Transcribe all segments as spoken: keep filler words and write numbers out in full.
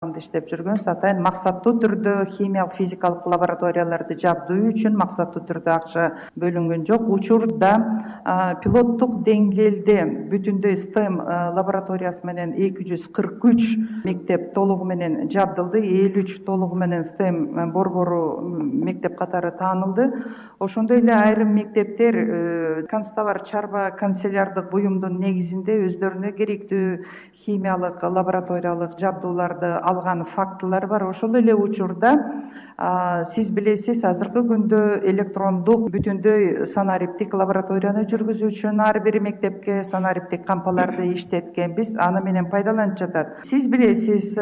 иштеп жүргөнбүз. Атайын максаттуу түрдө химиялык физикалык лабораторияларды жабдуу үчүн максаттуу түрдө акча бөлүнгөн жок. Учурда пилоттук деңгээлде бүтүндөй стэм лабораториясы менен эки жүз кырк үч мектеп толугу менен жабдылды. элүү үч толугу менен стэм борбору мектеп катары таанылды. Ошондой эле айрым мектептер констовар чарба канцелярдык буюмдун негизинде өздөрүнө керектүү химиялык лабораториялык жабдууларды алган фактылар бар. Ошол эле учурда сиз билесиз, азыркы күндө электрондук бүтүндөй санариптик лабораторияны жүргүзүү үчүн ар бир мектепке санариптик кампаларды иштеткенбиз, аны менен пайдаланып жатат. Сиз билесиз,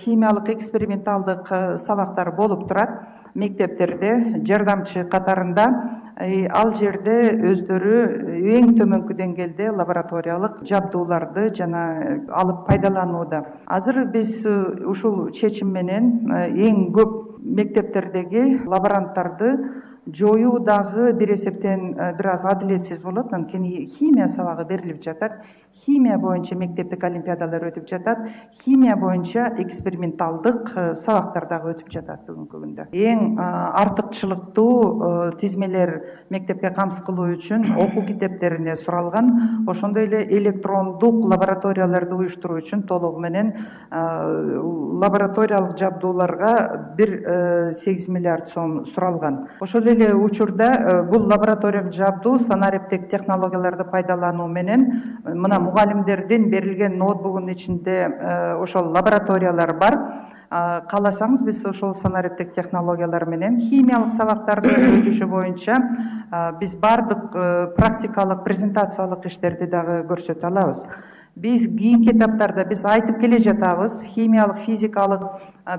химиялык эксперименталдык сабактар болуп турат мектептерде жардамчы катарында. Ал жерде өздөрү эң төмөнкү деңгээлде лабораториялык жабдууларды жана алып пайдаланууда. Азыр биз ушул чечим менен эң көп мектептердеги лаборанттарды жоюу дагы бир эсептен бир аз адилетсиз болот. Анткени химия сабагы берилип жатат, химия боюнча мектептик олимпиадалар өтүп жатат, химия боюнча эксперименталдык сабактар дагы өтүп жатат бүгүнкү күндө. Эң артыкчылыктуу тизмелер мектепке камсыз кылуу үчүн окуу китептерине суралган. Ошондой эле электрондук лабораторияларды уюштуруу үчүн толугу менен лабораториялык жабдууларга бир сегиз миллиард сом суралган. Ошол эле учурда бул лабораториялык жабдуу санариптик технологияларды пайдалануу менен мына мугалимдердин берилген ноутбугунун ичинде ошол лабораториялар бар. Кааласаңыз биз ошол санариптик технологиялар менен химиялык сабактардын өтүшү боюнча биз бардык практикалык презентациялык иштерди дагы көрсөтө алабыз. Биз кийинки этаптарда биз айтып келе жатабыз, химиялык физикалык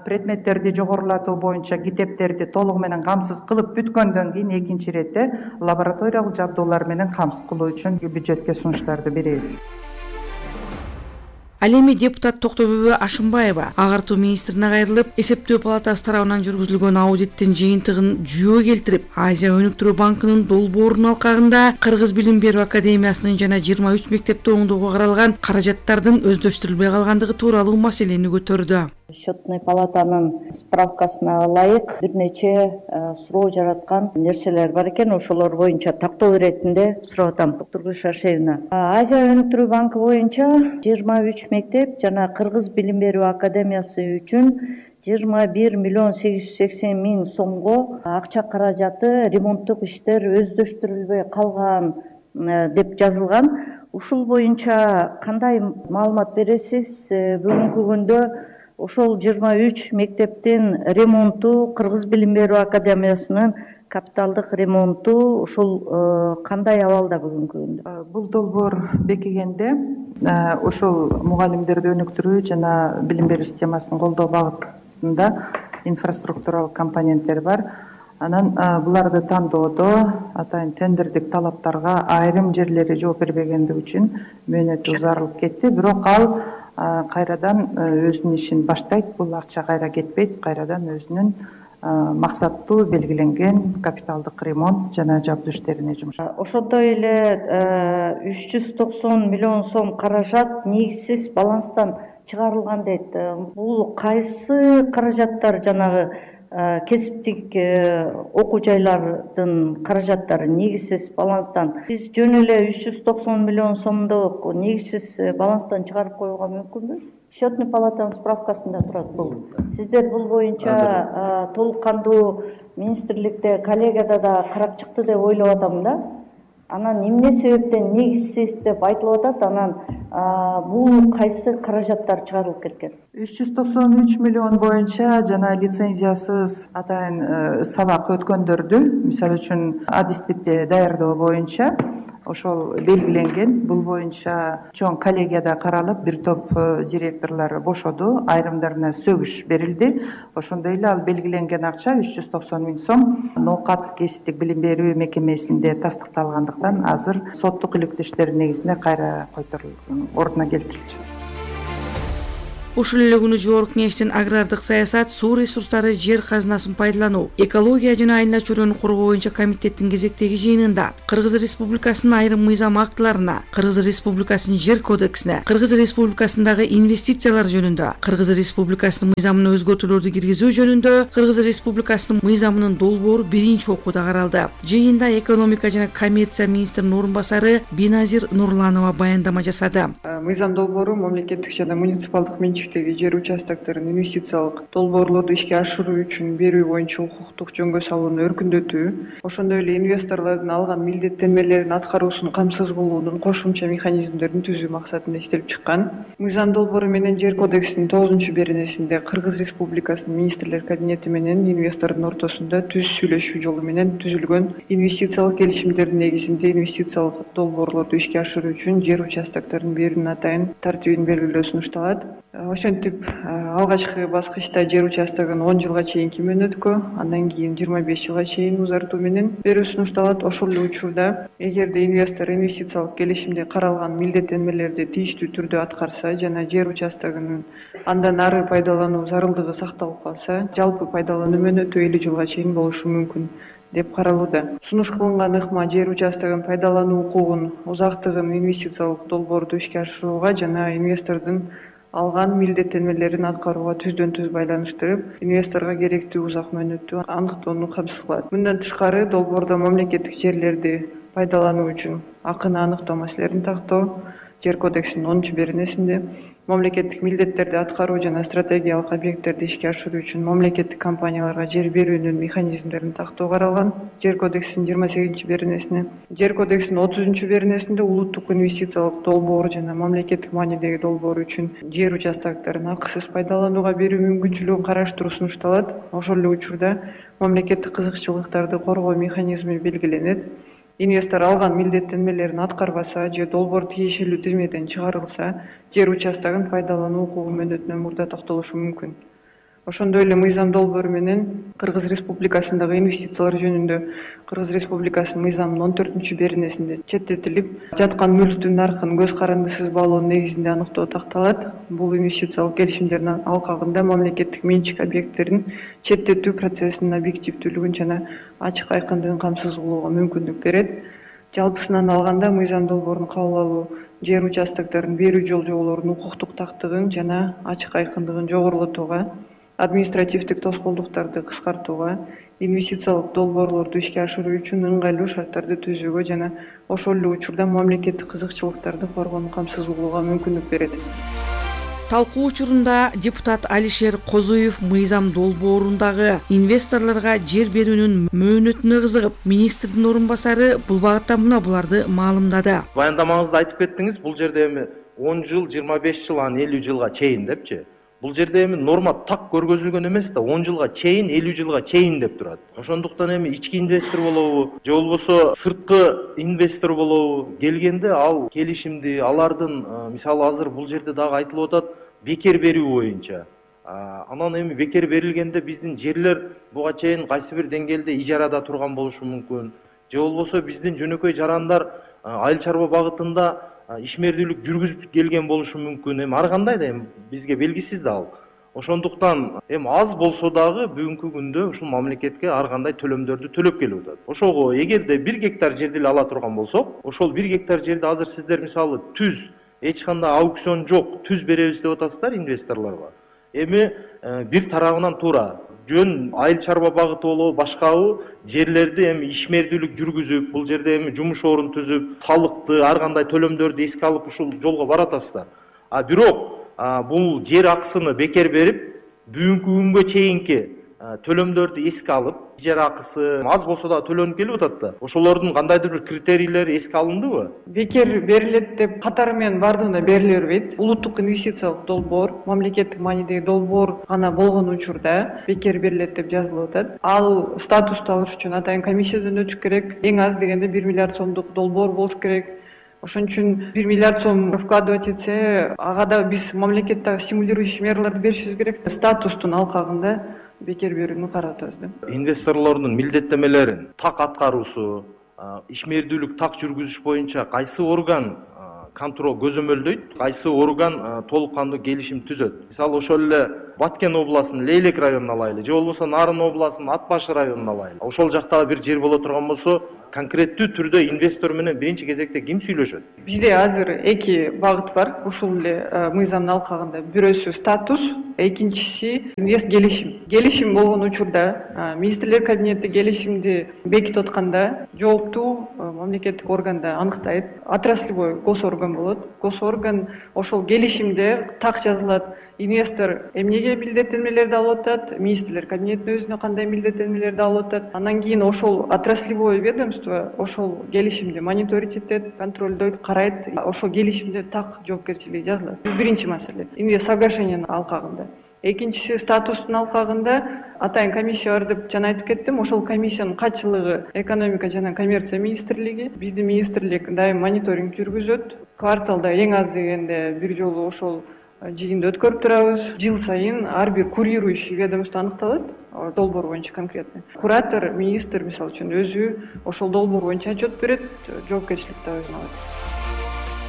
предметтерди жогорулатуу боюнча китептерди толугу менен камсыз кылып бүткөндөн кийин экинчи иретте лабораториялык жабдуулар менен камсыз кылуу үчүн бюджетке сунуштарды беребиз. Ал эми депутат Токтобүбү Ашымбаева агартуу министрине кайрылып, эсептөө палатасы тарабынан жүргүзүлгөн аудиттин жыйынтыгын жүйөгө келтирип, Азия өнүктүрүү банкынын долбоорунун алкагында Кыргыз билим берүү академиясынын жана жыйырма үч мектепти оңдоого каралган каражаттардын өздөштүрүлбөй калгандыгы тууралуу маселени көтөрдү. Счетный палатанын справкасына ылайык бир нече суроо жараткан нерселер бар экен. Ошолор боюнча тактоо иретинде сурап атам. Доктор Шашевна, Азия өнүктүрүү банкы боюнча жыйырма үч мектеп жана Кыргыз билим берүү академиясы үчүн жыйырма бир миллион сегиз жүз сексен миң сомго акча каражаты ремонттук иштер өздөштүрүлбөй калган деп жазылган. Ушул боюнча кандай маалымат бересиз? Бүгүнкү күндө ошол жыйырма үч мектептин ремонту, Кыргыз билим берүү академиясынын капиталдык ремонту ушул кандай абалда бүгүнкү күндө? Бул долбоор бекигенде ушул мугалимдерди өнүктүрүү жана билим берүү системасын колдоо багытында инфраструктуралык компоненттер бар. Анан буларды тандоодо атайын тендердик талаптарга айрым жерлери жооп бербегендиги үчүн мөөнөтү узарылып кетти. Бирок ал кайрадан өзүнүн ишин баштайт. Бул акча кайра кетпейт, кайрадан өзүнүн максаттуу белгиленген капиталдык ремонт жана жабдуу иштерине жумшайт. Ошондой эле үч жүз токсон миллион сом каражат негизсиз баланстан чыгарылган дейт. Бул кайсы каражаттар? Жанагы кесиптик окуу жайлардын каражаттары негизсиз баланстан. Биз жөн эле үч жүз токсон миллион сомдук негизсиз баланстан чыгарып коюуга мүмкүнбү? Счетный палатанын справкасында турат бул. Сиздер бул боюнча толук кандуу министрликте, коллегияда да карап чыкты деп ойлоп атам да. Анан эмне себептен негизсиз деп айтылып атат? Анан бул кайсы каражаттар чыгарылып кеткен? үч жүз токсон үч миллион боюнча жана лицензиясыз атайын сабак өткөндөрдү, мисалы үчүн адистикти даярдоо боюнча ошол белгиленген. Бул боюнча чоң коллегияда каралып, бир топ директорлор бошоду, айрымдарына сөгүш берилди. Ошондой эле ал белгиленген акча үч жүз токсон миң сом ноокат кесиптик билим берүү мекемесинде тастыкталгандыктан азыр соттук иликтөө иштери негизинде кайра койторулуп, ордуна келтирилчү. Ушул эле күнү жогорку кеңештин агрардык саясат, суу ресурстары, жер казынасын пайдалануу, экология жана айла чөйрөнү коргоо боюнча комитеттин кезектеги жыйынында Кыргыз Республикасынын айрым мыйзам актыларына, Кыргыз Республикасынын жер кодексине, Кыргыз Республикасындагы инвестициялар жөнүндө, Кыргыз Республикасынын мыйзамына өзгөртүүлөрдү киргизүү жөнүндө Кыргыз Республикасынын мыйзамынын долбоору биринчи окууда каралды. Жыйында экономика жана коммерция министринин орун басары Биназир Нурланова баяндама жасады. Мыйзам долбоору мамлекеттик жана муниципалдык менчиктеги жер участокторун инвестициялык долбоорлорду ишке ашыруу үчүн берүү боюнча укуктук жөнгө салууну өркүндөтүү, ошондой эле инвесторлордун алган милдеттенмелерин аткаруусун камсыз кылуунун кошумча механизмдерин түзүү максатында иштелип чыккан. Мыйзам долбоору менен жер кодексинин тогузунчу беренесинде Кыргыз Республикасынын министрлер кабинети менен инвестордун ортосунда түз сүйлөшүү жолу менен түзүлгөн инвестициялык келишимдердин негизинде инвестициялык долбоорлорду ишке ашыруу үчүн жер участокторун берүүнүн атайын тартибин белгилөө сунушталат. Ошентип алгачкы баскычта жер участогун он жылга чейинки мөөнөткө, андан кийин жыйырма беш жылга чейин узартуу менен берүү сунушталат. Ошол эле учурда эгерде инвестор инвестициялык келишимде каралган милдеттенмелерди тийиштүү түрдө аткарса жана жер участогунун андан ары пайдалануу зарылдыгы сакталып калса, жалпы пайдалануу мөөнөтү элүү жылга чейин болушу мүмкүн деп каралууда. Сунуш кылынган ыкма жер участогун пайдалануу укугун, узактыгын инвестициялык долбоорду ишке ашырууга жана инвестордун алган милдеттенмелерин аткарууга түздөн түз байланыштырып, инвесторго керектүү узак мөөнөттү аныктоону камсыз кылат. Мындан тышкары долбоордо мамлекеттик жерлерди пайдалануу үчүн акыны аныктоо маселелерин тактоо, жер кодексинин онунчу беренесинде мамлекеттик милдеттерди аткаруу жана стратегиялык объекттерди ишке ашыруу үчүн мамлекеттик компанияларга жер берүүнүн механизмдерин тактоо каралган. Жер кодексинин жыйырма сегизинчи беренесине, жер кодексинин отузунчу беренесинде улуттук инвестициялык долбоор жана мамлекеттик маанидеги долбоор үчүн жер участокторун акысыз пайдаланууга берүү мүмкүнчүлүгүн караштыруу сунушталат. Ошол эле учурда мамлекеттик кызыкчылыктарды коргоо механизми белгиленет. Инвестор алган милдеттенмелерин аткарбаса же долбоор тиешелүү тизмеден чыгарылса, жер участогун пайдалануу укугу мөөнөтүнөн мурда токтолушу мүмкүн. Ошондой эле мыйзам долбоору менен Кыргыз Республикасындагы инвестициялар жөнүндө Кыргыз Республикасынын мыйзамынын он төртүнчү беренесинде четтетилип, жаткан мүлктүн наркын көз карандысыз баалоонун негизинде аныктоо такталат. Бул инвестициялык келишимдердин алкагында мамлекеттик менчик объекттерин четтетүү процессинин объективдүүлүгүн жана ачык айкындыгын камсыз кылууга мүмкүндүк берет. Жалпысынан алганда мыйзам долбоорун кабыл алуу жер участокторун берүү жол-жоболорунун укуктук тактыгын жана ачык айкындыгын жогорулатууга, административдик тоскоолдуктарды кыскартууга, инвестициялык долбоорлорду ишке ашыруу үчүн ыңгайлуу шарттарды түзүүгө жана ошол эле учурда мамлекеттик кызыкчылыктарды коргоону камсыз кылууга мүмкүндүк берет. Талкуу учурунда депутат Алишер Козуев мыйзам долбоорундагы инвесторлорго жер берүүнүн мөөнөтүнө кызыгып, министрдин орун басары бул багытта мына буларды маалымдады. Баяндамаңызда айтып кеттиңиз, бул жерде эми он жыл, жыйырма беш жыл, анан элүү жылга чейин депчи. Бул жерде эми норма так көргөзүлгөн эмес да, он жылга чейин, элүү жылга чейин деп турат. Ошондуктан эми ички инвестор болобу, же болбосо сырткы инвестор болобу келгенде ал келишимди, алардын мисалы азыр бул жерде дагы айтылып атат, бекер берүү боюнча. Анан эми бекер берилгенде биздин жерлер буга чейин кайсы бир деңгээлде ижарада турган болушу мүмкүн. Же болбосо биздин жөнөкөй жарандар айыл чарба багытында ишмердүүлүк жүргүзүп келген болушу мүмкүн. Эми ар кандай да эми бизге белгисиз да ал. Ошондуктан эми аз болсо дагы бүгүнкү күндө ушул мамлекетке ар кандай төлөмдөрдү төлөп келип атат. Ошого эгерде бир гектар жерди эле ала турган болсок, ошол бир гектар жерди азыр сиздер мисалы түз, эч кандай аукцион жок, түз беребиз деп атасыздар инвесторлорго. Эми бир тарабынан туура жөн айыл чарба багыты болобу, башкабы жерлерди эми ишмердүүлүк жүргүзүп, бул жерде эми жумуш орун түзүп, салыкты, ар кандай төлөмдөрдү эске алып ушул жолго баратасыздар. А бирок бул жер акысыны бекер берип, бүгүнкү күнгө чейинки төлөмдөрдү эске алып, ижара акысы аз болсо да төлөнүп келип атат да. Ошолордун кандайдыр бир критерийлери эске алындыбы? Бекер берилет деп катары менен бардыгына бериле бербейт. Улуттук инвестициялык долбоор, мамлекеттик маанидеги долбоор гана болгон учурда бекер берилет деп жазылып атат. Ал статусту алыш үчүн атайын комиссиядан өтүш керек. Эң аз дегенде бир миллиард сомдук долбоор болуш керек. Ошон үчүн бир миллиард сом вкладывать этсе, ага да биз мамлекеттеги стимулирующий мерлерди беришибиз керек. Статустун алкагында бекер берүүнү карап атабыз да. Инвесторлордун милдеттенмелерин так аткаруусу, ишмердүүлүк так жүргүзүш боюнча кайсы орган контроль көзөмөлдөйт, кайсы орган толук кандуу келишим түзөт. Мисалы ошол эле Баткен областынын Лейлек районун алайлы, же болбосо Нарын областынын Ат баш районун алайлы. Ошол жактагы бир жер боло турган болсо, конкреттүү түрдө инвестор менен биринчи кезекте ким сүйлөшөт? Бизде азыр эки багыт бар. Ушул эле мыйзамдын алкагында бирөөсү статус, экинчиси инвест келишим. Келишим болгон учурда министрлер кабинети келишимди бекитип атканда жооптуу мамлекеттик органда аныктайт. Отраслевой госорган болот. Госорган ошол келишимде так жазылат. Инвестор эмнеге милдеттенмелерди алып атат, министрлер кабинетинин өзүнө кандай милдеттенмелерди алып атат. Андан кийин ошол отраслевой ведомство ошол келишимди мониторить этет, контролдойт, карайт. Ошол келишимде так жоопкерчилиги жазылат. Бул биринчи маселе. Инвест соглашениянын алкагында. Экинчиси статустун алкагында атайын комиссия бар деп жана айтып кеттим. Ошол комиссиянын катчылыгы экономика жана коммерция министрлиги. Биздин министрлик дайым мониторинг жүргүзөт. Кварталда эң аз дегенде бир жолу ошол жыйынды өткөрүп турабыз. Жыл сайын ар бир курирующий ведомство аныкталат, долбоор боюнча конкретно. Куратор, министр мисалы үчүн өзү ошол долбоор боюнча отчет берет, жоопкерчиликти өзүнө алат.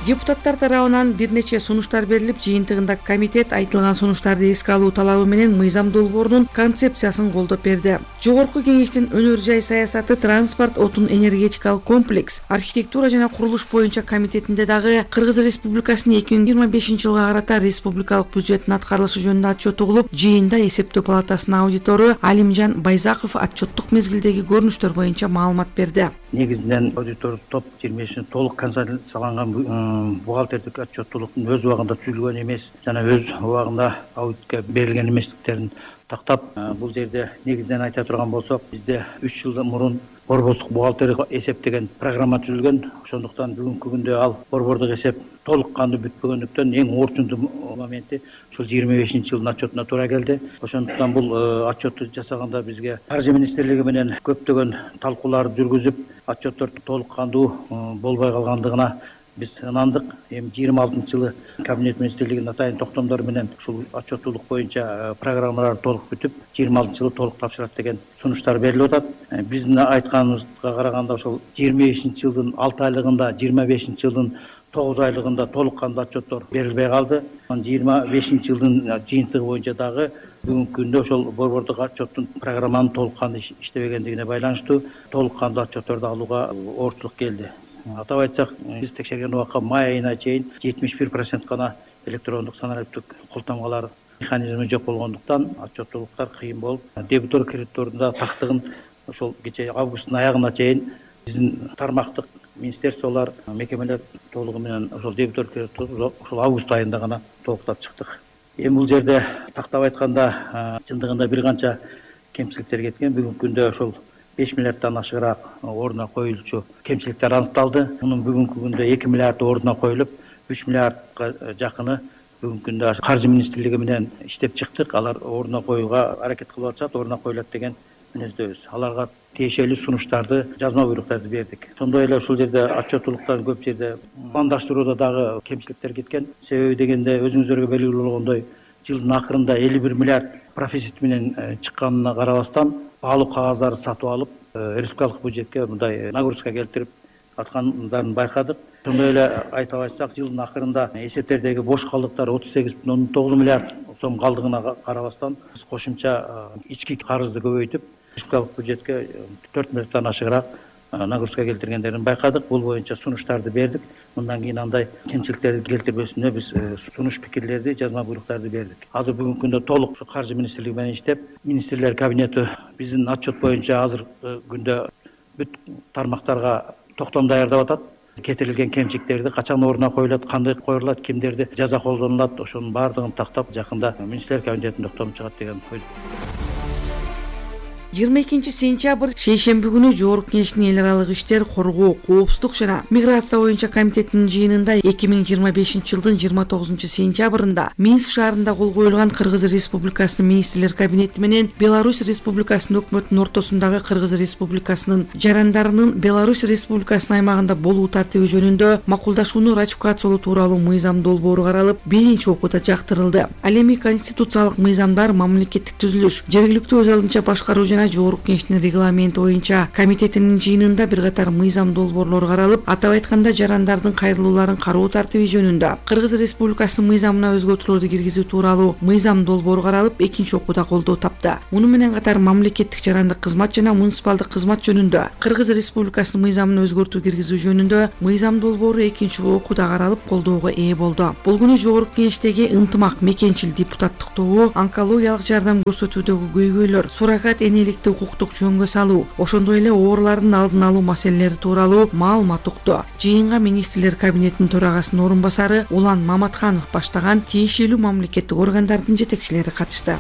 Депутаттар тарабынан бир нече сунуштар берилип, жыйынтыгында комитет айтылган сунуштарды эске алуу талабы менен мыйзам долбоорунун концепциясын колдоп берди. Жогорку кеңештин өнөр жай саясаты, транспорт, отун энергетикалык комплекс, архитектура жана курулуш боюнча комитетинде дагы Кыргыз Республикасынын эки миң жыйырма бешинчи жылга карата республикалык бюджеттин аткарылышы жөнүндө отчет угулуп, жыйында эсептөө палатасынын аудитору Алимжан Байзаков отчеттук мезгилдеги көрүнүштөр боюнча маалымат берди. Негизинен аудитор топ жыйырма бешинчи толук консолидацияланган бухгалтердик отчеттуулуктун өз убагында түзүлгөн эмес жана өз убагында аудитке берилген эместиктерин тактап, бул жерде негизинен айта турган болсок, бизде үч жыл мурун борбордук бухгалтерия эсеп деген программа түзүлгөн. Ошондуктан бүгүнкү күндө ал борбордук эсеп толук кандуу бүтпөгөндүктөн эң орчундуу моменти ушул жыйырма бешинчи жылдын отчетуна туура келди. Ошондуктан бул отчетту жасаганда бизге каржы министрлиги менен көптөгөн талкууларды жүргүзүп, отчетторду толук кандуу болбой калгандыгына биз ынандык. Эми жыйырма алтынчы жылы кабинет министрлигинин атайын токтомдору менен ушул отчеттуулук боюнча программалар толук бүтүп, жыйырма алтынчы жылы толук тапшырат деген сунуштар берилип атат. Биздин айтканыбызга караганда ошол жыйырма бешинчи жылдын алты айлыгында, жыйырма бешинчи жылдын тогуз айлыгында толук кандуу отчеттор берилбей калды. жыйырма бешинчи жылдын жыйынтыгы боюнча дагы бүгүнкү күндө ошол борбордук отчеттун программанын толук кандуу иштебегендигине байланыштуу толук кандуу отчетторду алууга оорчулук келди. Атап айтсак, биз текшерген убакка май айына чейин жетимиш бир процент гана электрондук санариптик кол тамгалар механизми жок болгондуктан отчеттуулуктар кыйын болуп, дебитор кредитордун да тактыгын ошол кече августтун аягына чейин биздин тармактык министерстволор, мекемелер толугу менен ошол дебитор кредитор ошол август айында гана толуктап чыктык. Эми бул жерде тактап айтканда чындыгында бир канча кемчиликтер кеткен. Бүгүнкү күндө ошол беш миллиарддан ашыгыраак ордуна коюлчу кемчиликтер аныкталды. Мунун бүгүнкү күндө эки миллиард ордуна коюлуп, үч миллиардка жакыны бүгүнкү күндө каржы министрлиги менен иштеп чыктык. Алар ордуна коюуга аракет кылып атышат, ордуна коюлат деген мүнөздөбүз. Аларга тиешелүү сунуштарды, жазма буйруктарды бердик. Ошондой эле ушул жерде отчеттуулуктан көп жерде пландаштырууда дагы кемчиликтер кеткен. Себеби дегенде өзүңүздөргө белгилүү болгондой, жылдын акырында элүү бир миллиард профицит менен чыкканына карабастан, баалуу кагаздарды сатып алып, республикалык бюджетке мындай нагрузка келтирип аткандарын байкадык. Ошондой эле айтып айтсак, жылдын акырында эсептердеги бош калдыктар отуз сегиз бүтүн ондон тогуз миллиард сом калдыгына карабастан, биз кошумча ички карызды көбөйтүп, республикалык бюджетке төрт миллиарддан ашыгыраак нагрузка келтиргендерин байкадык. Бул боюнча сунуштарды бердик. Мындан кийин андай кемчиликтерди келтирбесине биз сунуш пикирлерди, жазма буйруктарды бердик. Азыр бүгүнкү күндө толук ушу каржы министрлиги менен иштеп, министрлер кабинети биздин отчет боюнча азыркы күндө бүт тармактарга токтом даярдап атат. Кетирилген кемчиликтерди качан ордуна коюлат, кандай коюлат, кимдерди жаза колдонулат, ошонун баардыгын тактап жакында министрлер кабинетинин токтому чыгат деген ойдо. жыйырма экинчи сентябрь шейшемби күнү Жогорку кеңештин эл аралык иштер, коргоо, коопсуздук жана миграция боюнча комитетинин жыйынында эки миң жыйырма бешинчи жылдын жыйырма тогузунчу сентябрында Минск шаарында кол коюлган Кыргыз Республикасынын министрлер кабинети менен Беларусь Республикасынын өкмөтүнүн ортосундагы Кыргыз Республикасынын жарандарынын Беларусь Республикасынын аймагында болуу тартиби жөнүндө макулдашууну ратификациялоо тууралуу мыйзам долбоору каралып, биринчи окууда жактырылды. Ал эми конституциялык мыйзамдар, мамлекеттик түзүлүш, жергиликтүү өз алдынча башкаруу жана жогорку кеңештин регламенти боюнча комитетинин жыйынында бир катар мыйзам долбоорлору каралып, атап айтканда жарандардын кайрылууларын кароо тартиби жөнүндө Кыргыз Республикасынын мыйзамына өзгөртүүлөрдү киргизүү тууралуу мыйзам долбоору каралып, экинчи окууда колдоо тапты. Муну менен катар мамлекеттик жарандык кызмат жана муниципалдык кызмат жөнүндө Кыргыз Республикасынын мыйзамына өзгөртүү киргизүү жөнүндө мыйзам долбоору экинчи окууда каралып, колдоого ээ болду. Бул күнү жогорку кеңештеги ынтымак мекенчил депутаттык тобу онкологиялык жардам көрсөтүүдөгү көйгөйлөр, суррогат энеликти укуктук жөнгө салуу, ошондой эле оорулардын алдын алуу маселелери тууралуу маалымат укту. Жыйынга министрлер кабинетинин төрагасынын орун басары Улан Маматканов баштаган тиешелүү мамлекеттик органдардын жетекчилери катышты.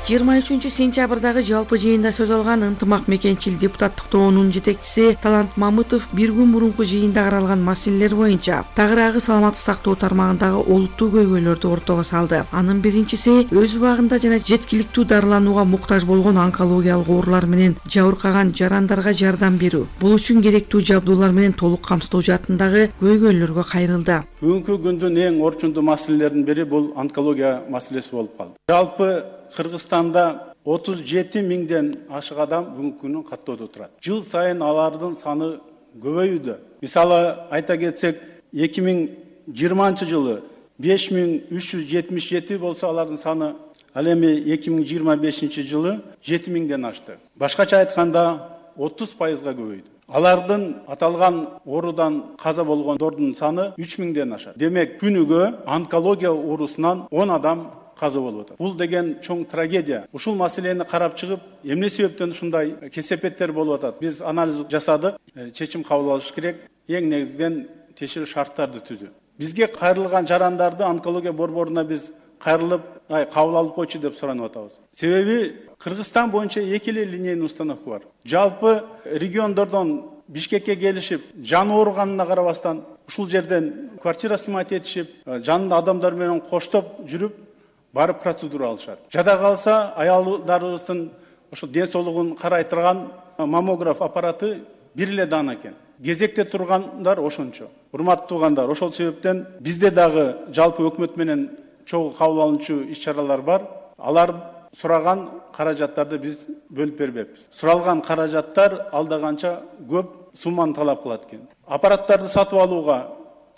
жыйырма үчүнчү сентябрдагы жалпы жыйында сөз алган ынтымак мекенчил депутаттык тобунун жетекчиси Талант Мамытов бир күн мурунку жыйында каралган маселелер боюнча тагыраагы саламаттык сактоо тармагындагы олуттуу көйгөйлөрдү ортого салды. Анын биринчиси өз убагында жана жеткиликтүү дарыланууга муктаж болгон онкологиялык оорулар менен жабыркаган жарандарга жардам берүү, бул үчүн керектүү жабдуулар менен толук камсыздоо жаатындагы көйгөйлөргө кайрылды. Бүгүнкү күндүн эң орчундуу маселелердин бири бул онкология маселеси болуп калды. Жалпы Кыргызстанда отуз жети миңден ашык адам бүгүнкү күнү каттоодо турат. Жыл сайын алардын саны көбөйүүдө. Мисалы айта кетсек, эки миң жыйырманчы жылы беш миң үч жүз жетимиш жети болсо, алардын саны ал эми эки миң жыйырма бешинчи жылы жети миңден ашты. Башкача айтканда отуз пайызга көбөйдү. Алардын аталган оорудан каза болгондордун саны үч миңден ашат. Демек, күнүгө онкология оорусунан он адам каза болуп атат. Бул деген чоң трагедия. Ушул маселени карап чыгып, эмне себептен ушундай кесепеттер болуп атат? Биз анализ жасадык, чечим кабыл алыш керек. Эң негизинен тиешелүү шарттарды түзүү. Бизге кайрылган жарандарды онкология борборуна биз кайрылып, ай кабыл алып койчу деп суранып атабыз. Себеби Кыргызстан боюнча эки эле линейный установка бар. Жалпы региондордон Бишкекке келишип, жаны ооруганына карабастан, ушул жерден квартира сымат этишип, жанында адамдар менен коштоп жүрүп, барып процедура алышат. Жада калса, аялдарыбыздын ошо ден соолугун карай турган маммограф аппараты бир эле даана экен. Кезекте тургандар ошончо. Урматтуу туугандар, ошол себептен бизде дагы жалпы өкмөт менен чогуу кабыл алынчу иш-чаралар бар. Алар сураган каражаттарды биз бөлүп бербеппиз. Суралган каражаттар алдаганча көп сумманы талап кылат экен. Аппараттарды сатып алууга,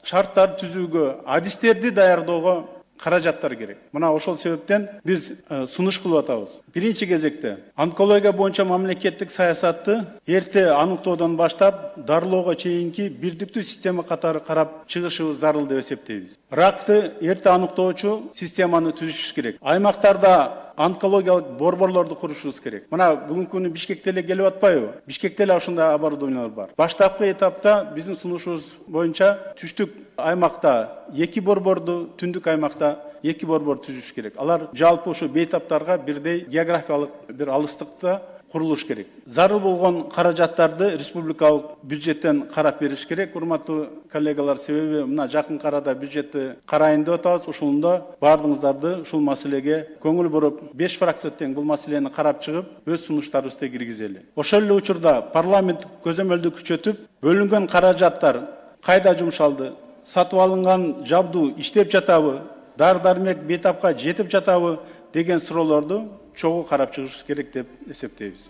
шарттар түзүүгө, адистерди даярдоого каражаттар керек. Мына ошол себептен биз сунуш кылып атабыз. Биринчи кезекте онкология боюнча мамлекеттик саясатты эрте аныктоодон баштап дарылоого чейинки бирдиктүү система катары карап чыгышыбыз зарыл деп эсептейбиз. Ракты эрте аныктоочу системаны түзүшүбүз керек. Аймактарда онкологиялык борборлорду курушубуз керек. Мына бүгүнкү күнү Бишкекте эле келип атпайбы? Бишкекте эле ушундай оборудованиялар бар. Баштапкы этапта биздин сунушубуз боюнча түштүк аймакта эки борборду, түндүк аймакта эки борбор түзүш керек. Алар жалпы ушу бейтаптарга бирдей географиялык бир алыстыкта курулуш керек. Зарыл болгон каражаттарды республикалык бюджеттен карап бериш керек. Урматтуу коллегалар, себеби мына жакын арада бюджетти карайын деп атабыз. Ушунда баардыгыңыздарды ушул маселеге көңүл буруп, беш фракция тең бул маселени карап чыгып, өз сунуштарыбызды киргизели. Ошол эле учурда парламент көзөмөлдү күчөтүп, бөлүнгөн каражаттар кайда жумшалды? Сатып алынган жабдуу иштеп жатабы? Дар-дармек бейтапка жетип жатабы деген суроолорду чогуу карап чыгышыбыз керек деп эсептейбиз.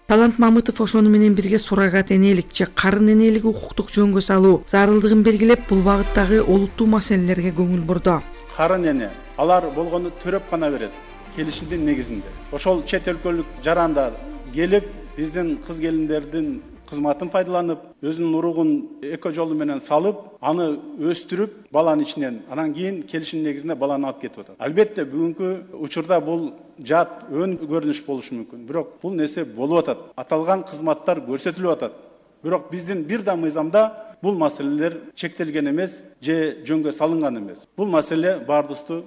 Талант Мамытов ошону менен бирге суррогат энелик же карын энелиги укуктук жөнгө салуу зарылдыгын белгилеп, бул багыттагы олуттуу маселелерге көңүл бурду. Карын эне алар болгону төрөп гана берет, келишимдин негизинде. Ошол чет өлкөлүк жарандар келип, биздин кыз келиндердин кызматын пайдаланып, өзүнүн уругун эко жолу менен салып, аны өстүрүп, баланын ичинен, анан кийин келишим негизинде баланы алып кетип атат. Албетте бүгүнкү учурда бул жат өн көрүнүш болушу мүмкүн. Бирок бул нерсе болуп атат. Аталган кызматтар көрсөтүлүп атат. Бирок биздин бир да мыйзамда бул маселелер чектелген эмес же жөнгө салынган эмес. Бул маселе баардыгыбызды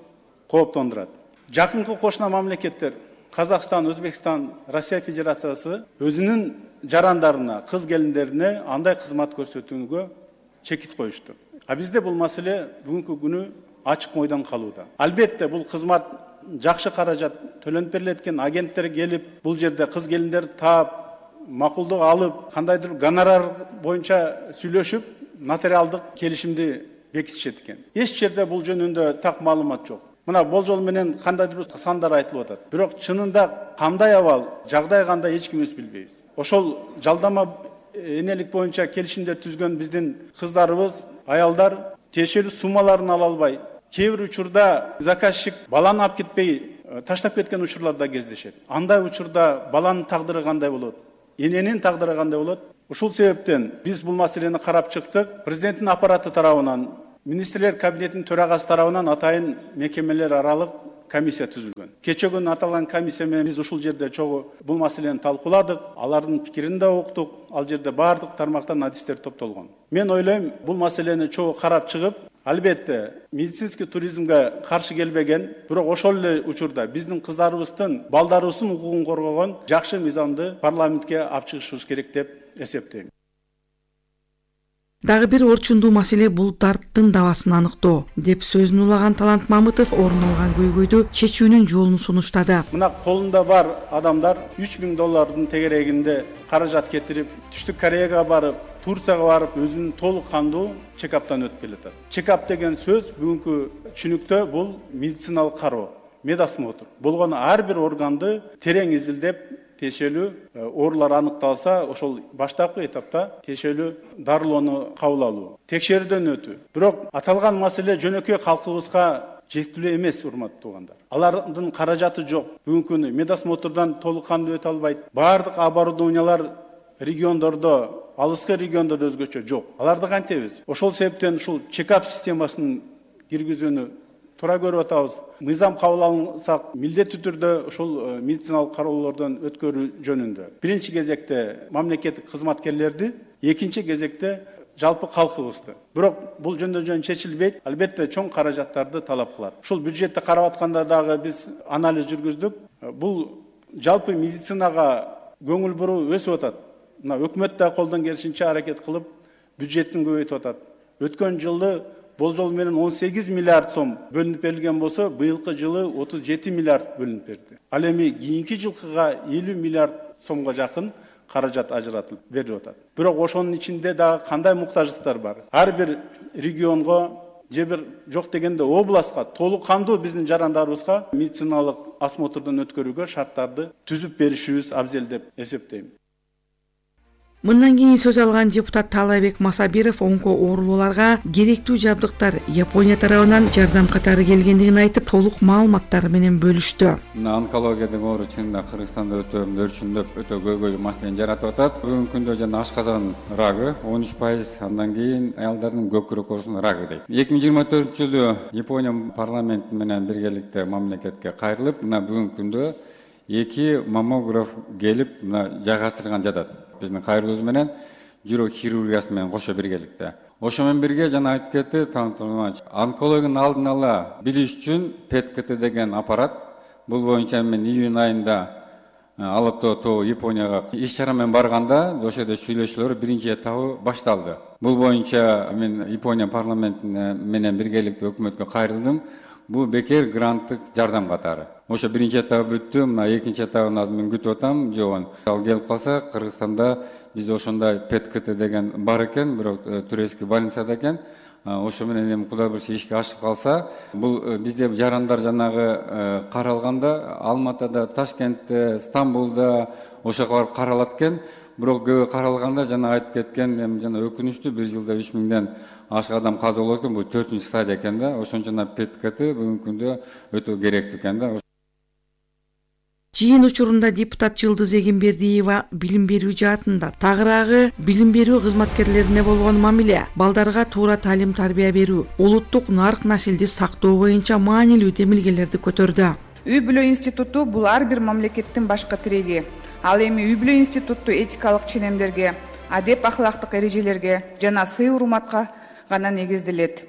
кооптондурат. Жакынкы кошуна мамлекеттер Казакстан, Өзбекстан, Россия Федерациясы өзүнүн жарандарына, кыз келиндерине андай кызмат көрсөтүүгө чекит коюшту. А бизде бул маселе бүгүнкү күнү ачык мойдон калууда. Албетте бул кызмат жакшы каражат төлөнүп берилет экен, агенттер келип, бул жерде кыз келиндерди таап, макулдук алып, кандайдыр гонорар боюнча сүйлөшүп, нотариалдык келишимди бекитишет экен. Эч жерде бул жөнүндө так маалымат жок. Мына болжол менен кандайдыр бир сандар айтылып атат. Бирок чынында кандай абал, жагдай кандай эч кимибиз билбейбиз. Ошол жалдама энелик боюнча келишимдер түзгөн биздин кыздарыбыз, аялдар тиешелүү суммаларын ала албай, кээ бир учурда заказчик баланы алып кетпей таштап кеткен учурлар да кездешет. Андай учурда баланын тагдыры кандай болот? Эненин тагдыры кандай болот? Ушул себептен биз бул маселени карап чыктык. Президенттин аппараты тарабынан, министрлер кабинетинин төрагасы тарабынан атайын мекемелер аралык комиссия түзүлгөн. Кече күнү аталган комиссия менен биз ушул жерде чогуу бул маселени талкууладык, алардын пикирин да уктук. Ал жерде баардык тармактан адистер топтолгон. Мен ойлойм, бул маселени чогуу карап чыгып, албетте медицинский туризмге каршы келбеген, бирок ошол эле учурда биздин кыздарыбыздын, балдарыбыздын укугун коргогон жакшы мыйзамды парламентке алып чыгышыбыз керек деп эсептейм. Дагы бир орчундуу маселе бул дарттын давасын аныктоо деп сөзүн улаган Талант Мамытов орун алган көйгөйдү чечүүнүн жолун сунуштады. Мына колунда бар адамдар үч миң доллардын тегерегинде каражат кетирип, Түштүк Кореяга барып, Турцияга барып, өзүнүн толук кандуу чекаптан өтүп келатат. Чекап деген сөз бүгүнкү түшүнүктө бул медициналык кароо, медосмотр. Болгону ар бир органды терең изилдеп, тиешелүү оорулар аныкталса, ошол баштапкы этапта тиешелүү дарылоону кабыл алуу, текшерүүдөн өтүү. Бирок аталган маселе жөнөкөй калкыбызга жеткилүү эмес, урматтуу туугандар. Алардын каражаты жок. Бүгүнкү күнү медосмотрдан толук кандуу өтө албайт. Баардык оборудованиялар региондордо, алыскы региондордо өзгөчө жок. Аларды кантебиз? Ошол себептен ушул чекап системасын киргизүүнү туура көрүп атабыз. Мыйзам кабыл алынсак, милдеттүү түрдө ушул медициналык кароолордон өткөрүү жөнүндө. Биринчи кезекте мамлекеттик кызматкерлерди, экинчи кезекте жалпы калкыбызды. Бирок бул жөндөн жөн чечилбейт, албетте чоң каражаттарды талап кылат. Ушул бюджетти карап атканда дагы биз анализ жүргүздүк. Бул жалпы медицинага көңүл буруу өсүп атат. Мына өкмөт да колдон келишинче аракет кылып бюджеттин көбөйтүп атат. Өткөн жылы болжол менен он сегиз миллиард сом бөлүнүп берилген болсо, быйылкы жылы отуз жети миллиард бөлүнүп берди. Ал эми кийинки жылкыга элүү миллиард сомго жакын каражат ажыратылып берилип атат. Бирок ошонун ичинде дагы кандай муктаждыктар бар? Ар бир регионго же бир жок дегенде областка толук кандуу биздин жарандарыбызга медициналык осмотрдон өткөрүүгө шарттарды түзүп беришибиз абзел деп эсептейм. Мындан кийин сөз алган депутат Таалайбек Масабиров онко оорулууларга керектүү жабдыктар Япония тарабынан жардам катары келгендигин айтып, толук маалыматтар менен бөлүштү. Мына онкология деген оору чынында Кыргызстанда өтө өрчүндөп, өтө көйгөйлүү маселени жаратып атат. Бүгүнкү күндө жана ашказан рагы он үч пайыз, андан кийин аялдардын көкүрөк оорусунун рагы дейт. эки миң жыйырма төртүнчү жылы Япония парламенти менен биргеликте мамлекетке кайрылып, мына бүгүнкү күндө эки маммограф келип, мына жайгаштырылган жатат. Биздин кайрылуубуз менен жүрөк хирургиясы менен кошо биргеликте. Ошо менен бирге жана айтып кетти Талант Мамытович, онкологиянын алдын ала билиш үчүн ПЭТ-КТ деген аппарат, бул боюнча мен июнь айында Алатоо тоо Японияга иш чара менен барганда, ошо жерде сүйлөшүүлөр биринчи этабы башталды. Бул боюнча мен Япония парламенти менен биргеликте өкмөткө кайрылдым. Бул бекер гранттык жардам катары. Ошо биринчи этабы бүттү, мына экинчи этабын азыр мен күтүп атам, жогон. Ал келип калса, Кыргызстанда бизде ошондой ПЭТ-КТ деген бар экен, бирок турецкий больницада экен. Ошо менен эми Кудай буйрса ишке ашып калса, бул бизде жарандар жанагы каралганда Алматыда, Ташкентте, Стамбулда ошого барып каралат экен. Бирок көбү каралганда жана айтып кеткен, эми жана өкүнүчтүү бир жылда үч миңден ашык адам каза болот экен, бул төртүнчү стадия экен да. Ошон үчүн ПЭТ-КТ бүгүнкү күндө өтө керектүү экен да. Жыйын учурунда депутат Жылдыз Эгембердиева билим берүү жаатында тагыраагы билим берүү кызматкерлерине болгон мамиле, балдарга туура таалим тарбия берүү, улуттук нарк насилди сактоо боюнча маанилүү демилгелерди көтөрдү. Үй бүлө институту бул ар бир мамлекеттин башкы тиреги. Ал эми үй бүлө институту этикалык ченемдерге, адеп ахлактык эрежелерге жана сый урматка гана негизделет.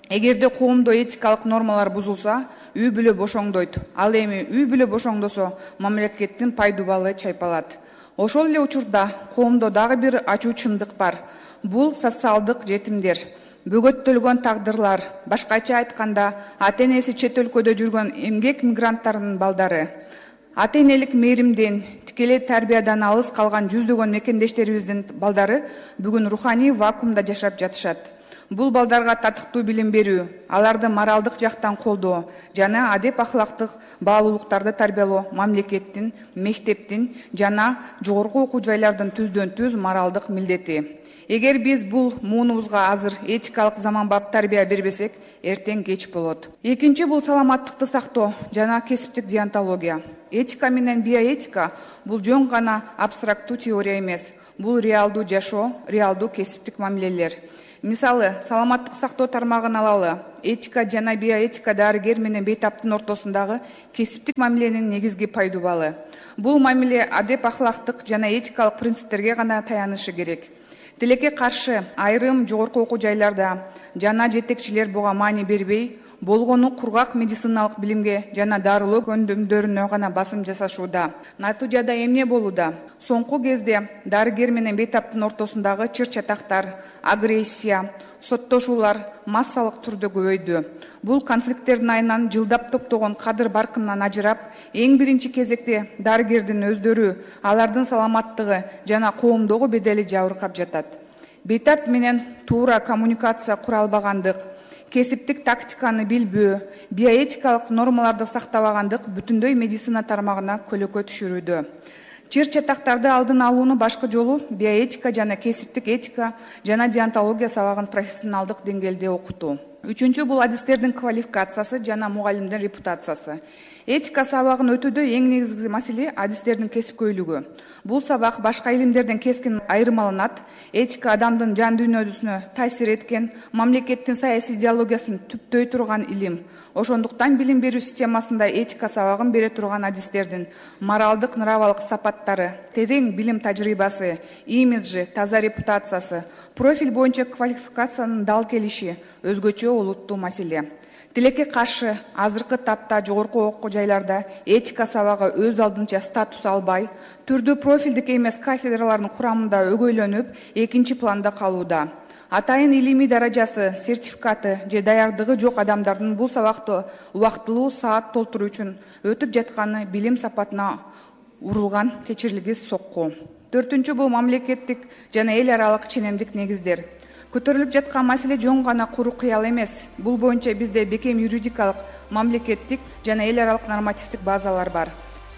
Эгерде коомдо этикалык нормалар бузулса, үй бүлө бошоңдойт. Ал эми үй бүлө бошоңдосо, мамлекеттин пайдубалы чайпалат. Ошол эле учурда коомдо дагы бир ачуу чындык бар. Бул социалдык жетимдер, бөгөттөлгөн тагдырлар, башкача айтканда, ата-энеси чет өлкөдө жүргөн эмгек мигранттарынын балдары. Ата-энелик мээримден, тикелей тарбиядан алыс калган жүздөгөн мекендештерибиздин балдары бүгүн руханий вакуумда жашап жатышат. Бул балдарга татыктуу билим берүү, аларды моралдык жактан колдоо жана адеп ахлактык баалуулуктарды тарбиялоо мамлекеттин, мектептин жана жогорку окуу жайлардын түздөн түз моралдык милдети. Эгер биз бул муунубузга азыр этикалык заманбап тарбия бербесек, эртең кеч болот. Экинчи бул саламаттыкты сактоо жана кесиптик деонтология. Этика менен биоэтика бул жөн гана абстрактуу теория эмес. Бул реалдуу жашоо, реалдуу кесиптик мамилелер. Мисалы, саламаттык сактоо тармагын алалы. Этика жана биоэтика дарыгер менен бейтаптын ортосундагы кесиптик мамиленин негизги пайдубалы. Бул мамиле адеп ахлактык жана этикалык принциптерге гана таянышы керек. Тилекке каршы айрым жогорку окуу жайларда жана жетекчилер буга маани бербей, болгону кургак медициналык билимге жана дарылоо көндүмдөрүнө гана басым жасашууда. Натыйжада эмне болууда? Соңку кезде дарыгер менен бейтаптын ортосундагы чыр-чатактар, агрессия, соттошуулар массалык түрдө көбөйдү. Бул конфликттердин айынан жылдап топтогон кадыр баркындан ажырап, эң биринчи кезекте дарыгердин өздөрү, алардын саламаттыгы жана коомдогу бедели жабыркап жатат. Бейтап менен туура коммуникация кура албагандык, кесиптик тактиканы билбөө, биоэтикалык нормаларды сактабагандык бүтүндөй медицина тармагына көлөкө түшүрүүдө. Чыр-чатактарды алдын алууну башкы жолу биоэтика жана кесиптик этика жана деонтология сабагын профессионалдык деңгээлде окутуу. Үчүнчү бул адистердин квалификациясы жана мугалимдин репутациясы. Этика сабагын өтүүдө эң негизги маселе адистердин кесипкөйлүгү. Бул сабак башка илимдерден кескин айырмаланат. Этика адамдын жан дүйнөсүнө таасир эткен, мамлекеттин саясий идеологиясын түптөй турган илим. Ошондуктан билим берүү системасында этика сабагын бере турган адистердин моралдык нравалык сапаттары, терең билим тажрыйбасы, имиджи, таза репутациясы, профиль боюнча квалификациянын дал келиши өзгөчө олуттуу маселе. Тилекке каршы азыркы тапта жогорку окуу жайларда этика сабагы өз алдынча статус албай, түрдүү профилдик эмес кафедралардын курамында өгөйлөнүп, экинчи планда калууда. Атайын илимий даражасы, сертификаты же даярдыгы жок адамдардын бул сабакты убактылуу саат толтуруу үчүн өтүп жатканы билим сапатына урулган кечирилгис сокку. Төртүнчү бул мамлекеттик жана эл аралык ченемдик негиздер. Көтөрүлүп жаткан маселе жөн гана куру кыял эмес. Бул боюнча бизде бекем юридикалык, мамлекеттик жана эл аралык нормативдик базалар бар.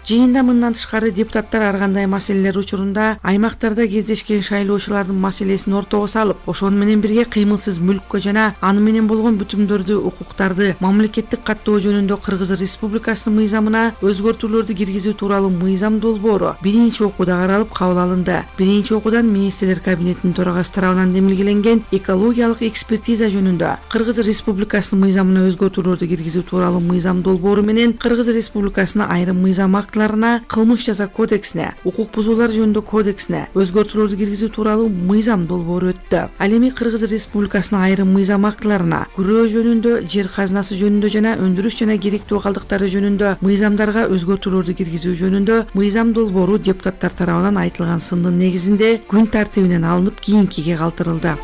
Жыйында мындан тышкары депутаттар ар кандай маселелер учурунда аймактарда кездешкен шайлоочулардын маселесин ортого салып, ошону менен бирге кыймылсыз мүлккө жана аны менен болгон бүтүмдөрдү, укуктарды мамлекеттик каттоо жөнүндө Кыргыз Республикасынын мыйзамына өзгөртүүлөрдү киргизүү тууралуу мыйзам долбоору биринчи окууда каралып кабыл алынды. Биринчи окуудан министрлер кабинетинин төрагасы тарабынан демилгеленген экологиялык экспертиза жөнүндө Кыргыз Республикасынын мыйзамына өзгөртүүлөрдү киргизүү тууралуу мыйзам долбоору менен Кыргыз Республикасынын айрым мыйзам кылмыш жаза кодексине, укук бузуулар жөнүндө кодексине өзгөртүүлөрдү киргизүү тууралуу мыйзам долбоору өттү. Ал эми Кыргыз Республикасынын айрым мыйзам актыларына күрөө жөнүндө, жер казынасы жөнүндө жана өндүрүш жана керектүү калдыктары жөнүндө мыйзамдарга өзгөртүүлөрдү киргизүү жөнүндө мыйзам долбоору депутаттар тарабынан айтылган сындын негизинде күн тартибинен алынып кийинкиге калтырылды.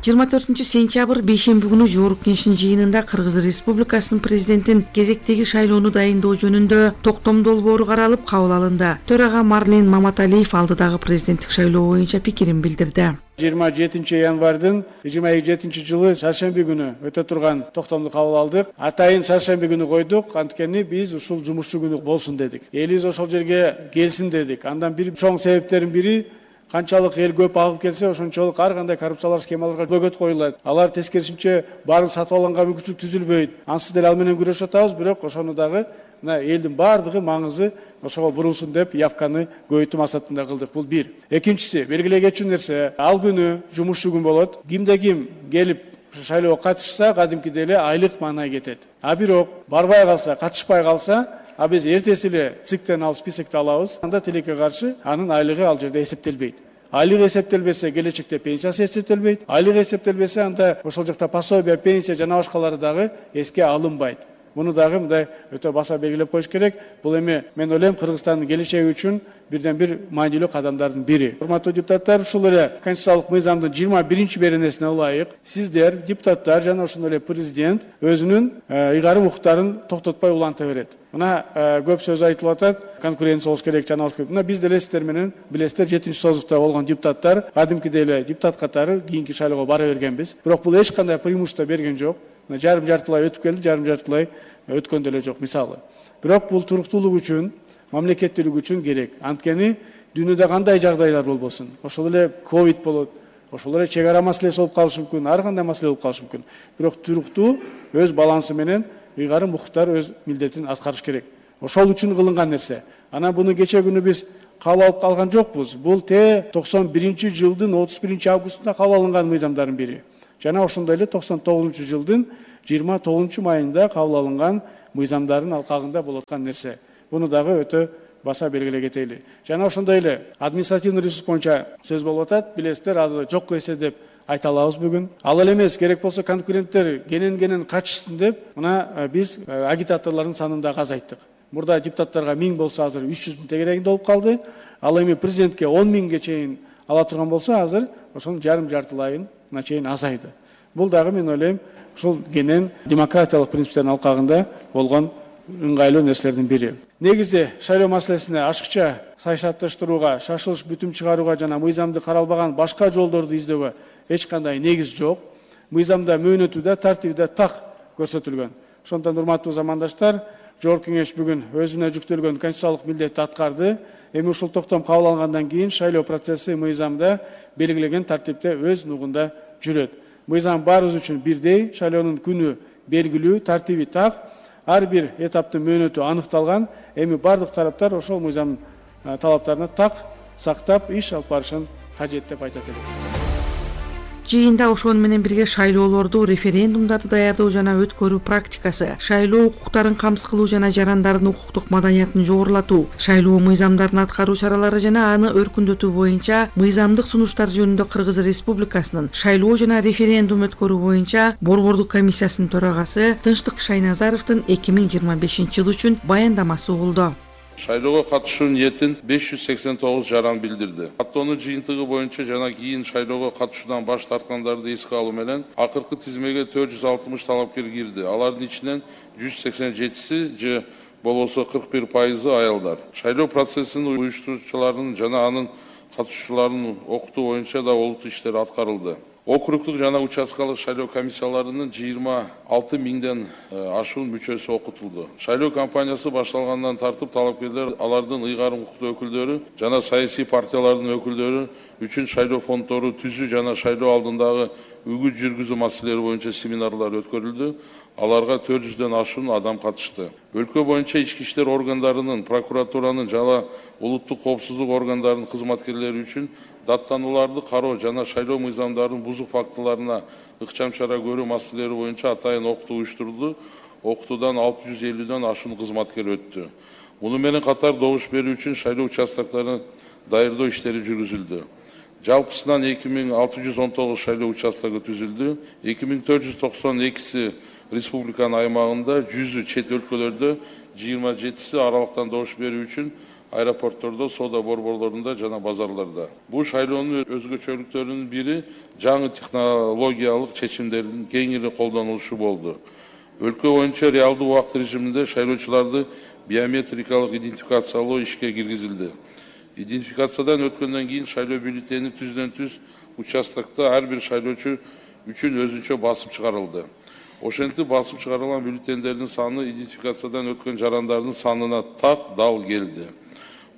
жыйырма төртүнчү сентябрь бейшемби күнү Жогорку Кеңештин жыйынында Кыргыз Республикасынын президентин кезектеги шайлоону дайындоо жөнүндө токтом долбоору каралып кабыл алынды. Төрага Марлен Маматалиев алдыдагы президенттик шайлоо боюнча пикирин билдирди. жыйырма жетинчи январда жыйырма жетинчи жылы шаршемби күнү өтө турган токтомду кабыл алдык. Атайын шаршемби күнү койдук, анткени биз ушул жумушчу күнү болсун дедик. Элибиз ошол жерге келсин дедик. Андан бир чоң себептердин бири канчалык эл көп агып келсе, ошончолук ар кандай коррупциялар, схемаларга бөгөт коюлат. Алар тескерисинче баарын сатып алганга мүмкүнчүлүк түзүлбөйт. Ансыз деле ал менен күрөшүп атабыз, бирок ошону дагы мына элдин баардыгы маңызы ошого бурулсун деп явканы көбөйтүү максатында кылдык. Бул бир. Экинчиси, белгилей кетчү нерсе, ал күнү жумушчу күн болот. Кимде ким келип шайлоого катышса, кадимкидей эле айлык маанай кетет. А бирок барбай калса, катышпай калса, а биз эртеси эле циктен алып списокто алабыз. Анда тилекке каршы анын айлыгы ал жерде эсептелбейт. Айлык эсептелбесе, келечекте пенсиясы эсептелбейт. Айлык эсептелбесе, анда ошол жакта пособие, пенсия жана башкалары дагы эске алынбайт. Муну дагы мындай өтө баса белгилеп коюш керек. Бул эми мен ойлойм Кыргызстандын келечеги үчүн бирден бир маанилүү кадамдардын бири. Урматтуу депутаттар, ушул эле конституциялык мыйзамдын жыйырма биринчи беренесине ылайык сиздер, депутаттар жана ошондой эле президент өзүнүн ыйгарым укуктарын токтотпой уланта берет. Мына көп сөз айтылып атат, конкуренция болуш керек, жана болуш керек. Мына биз деле сиздер менен билесиздер, жетинчи созукта болгон депутаттар кадимкидей эле депутат катары кийинки шайлоого бара бергенбиз. Бирок бул эч кандай преимущество берген жок. Жарым жартылай өтүп келди, жарым жартылай өткөн деле жок мисалы. Бирок бул туруктуулук үчүн, мамлекеттүүлүк үчүн керек. Анткени дүйнөдө кандай жагдайлар болбосун, ошол эле ковид болот, ошол эле чек ара маселеси болуп калышы мүмкүн, ар кандай маселе болуп калышы мүмкүн. Бирок туруктуу өз балансы менен ыйгарым укуктар өз милдетин аткарыш керек. Ошол үчүн кылынган нерсе. Анан буну кече күнү биз кабыл алып калган жокпуз. Бул те токсон биринчи жылдын отуз биринчи августунда кабыл алынган мыйзамдардын бири. Жана ошондой эле токсон тогузунчу жылдын жыйырма тогузунчу майында кабыл алынган мыйзамдардын алкагында болуп аткан нерсе. Буну дагы өтө баса белгилей кетели. Жана ошондой эле административный ресурс боюнча сөз болуп атат. Билесиздер, аны жокко эсе деп айта алабыз бүгүн. Ал эле эмес, керек болсо конкуренттер кенен-кенен качышсын деп, мына биз агитаторлордун санын да азайттык. Мурда депутаттарга миң болсо азыр үч жүз миң тегерегинде болуп калды. Ал эми президентке он миңге чейин ала турган болсо азыр ошонун жарым жартылайын чейин азайды. Бул дагы мен ойлойм ушул кенен демократиялык принциптердин алкагында болгон ыңгайлуу нерселердин бири. Негизи шайлоо маселесине ашыкча саясатташтырууга, шашылыш бүтүм чыгарууга жана мыйзамды каралбаган башка жолдорду издөөгө эч кандай негиз жок. Мыйзамда мөөнөтү да, тартиби да так көрсөтүлгөн. Ошондон урматтуу замандаштар, Жогорку Кеңеш бүгүн өзүнө жүктөлгөн конституциялык милдетти аткарды. Эми ушул токтом кабыл алынгандан кийин шайлоо процесси мыйзамда белгилеген тартипте өз нугунда жүрөт. Мыйзам баарыбыз үчүн бирдей, шайлоонун күнү белгилүү, тартиби так, ар бир этаптын мөөнөтү аныкталган. Эми бардык тараптар ошол мыйзам талаптарына так сактап иш алып барышын кажет деп айтат элек. Жыйында ошону менен бирге шайлоолорду, референдумдарды даярдоо жана өткөрүү практикасы, шайлоо укуктарын камсыз кылуу жана жарандардын укуктук маданиятын жогорулатуу, шайлоо мыйзамдарын аткаруу чаралары жана аны өркүндөтүү боюнча мыйзамдык сунуштар жөнүндө Кыргыз Республикасынын шайлоо жана референдум өткөрүү боюнча Борбордук комиссиясынын төрагасы Тынчтык Шайназаровдун эки миң жыйырма бешинчи жыл үчүн баяндамасы угулду. Шайлоого катышуу ниетин беш жүз сексен тогуз жаран билдирди. Каттоонун жыйынтыгы боюнча жана кийин шайлоого катышуудан баш тарткандарды эске алуу менен акыркы тизмеге төрт жүз алтымыш талапкер кирди. Алардын ичинен жүз сексен жетиси же болбосо кырк бир пайызы аялдар. Шайлоо процессинин уюштуруучуларынын жана анын катышуучуларынын окутуу боюнча да олуттуу иштер аткарылды. Округдук жана участкалык шайлоо комиссияларынын жыйырма алты миңден ашуун мүчөсү окутулду. Шайлоо кампаниясы башталгандан тартып талапкерлер, алардын ыйгарым укуктуу өкүлдөрү жана саясий партиялардын өкүлдөрү үчүн шайлоо фонддору түзүү жана шайлоо алдындагы үгүт жүргүзүү маселелери боюнча семинарлар өткөрүлдү. Аларга төрт жүздөн ашуун адам катышты. Өлкө боюнча ички иштер органдарынын, прокуратуранын жана улуттук коопсуздук органдарынын кызматкерлери үчүн даттанууларды кароо жана шайлоо мыйзамдарынын бузук фактыларына ыкчам чара көрүү маселелери боюнча атайын окутуу уюштурулду. Окутуудан алты жүз элүүдөн ашуун кызматкер өттү. Муну менен катар добуш берүү үчүн шайлоо участокторун даярдоо иштери жүргүзүлдү. Жалпысынан эки миң алты жүз он тогуз шайлоо участогу түзүлдү. эки миң төрт жүз токсон экиси республиканын аймагында, жүзү чет өлкөлөрдө, жыйырма жетиси аралыктан добуш берүү үчүн аэропорттордо, соода борборлорунда жана базарларда. Бул шайлоонун өзгөчөлүктөрүнүн бири жаңы технологиялык чечимдердин кеңири колдонулушу болду. Өлкө боюнча реалдуу убакыт режиминде шайлоочуларды биометрикалык идентификациялоо ишке киргизилди. Идентификациядан өткөндөн кийин шайлоо бюллетени түздөн түз участокто ар бир шайлоочу үчүн өзүнчө басып чыгарылды. Ошентип басып чыгарылган бюллетендердин саны идентификациядан өткөн жарандардын санына так дал келди.